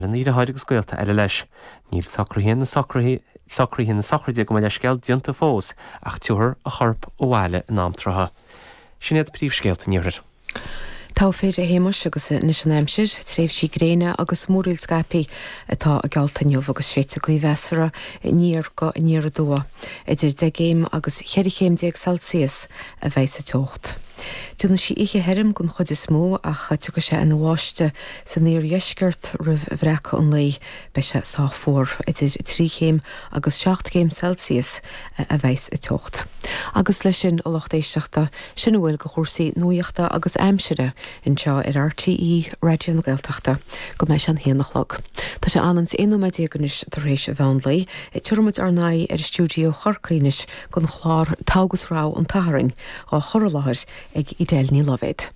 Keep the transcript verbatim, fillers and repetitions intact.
Lena dheartháir agus gaolta eile leis. Níl socruithe na socruithe na sochraide gabh mo leithscéal déanta fós ach tabharfar a chorp abhaile in am trátha. Sin iad príomhscéalta an iarthair. Tá fíor a Shéamais agus anois an aimsir, tréimhsí gréine agus múraíl scaipthe atá geallta inniu agus séidfidh gaoth mheasartha aniar go aniar aduaidh. Idir deich gcéim agus cheithre chéim déag Celsius a bheidh sa teocht. Déanfaidh sí oíche thirim den chuid is mó ach tiocfaidh sé ina bháisteach san iardheisceart roimh bhreacadh an lae. Beidh sé sách fuar idir trí chéim agus seacht gcéim Celsius a bheidh sa teocht. Agus leis sin a lucht éisteachta sin a bhfuil de chúrsaí nuachta agus aimsire anseo ar RTÉ Raidió na Gaeltachta go mbeidh sé an haon a chlog. Tá sé an aon nóiméad déag anois tar éis an mheán lae, Tabharfaimid ár n-aghaidh ar stiúideo Chorcaí anois don chlár Togha agus Rogha an tSathairn á chur i láthair ag Edel Ní Loibhéad.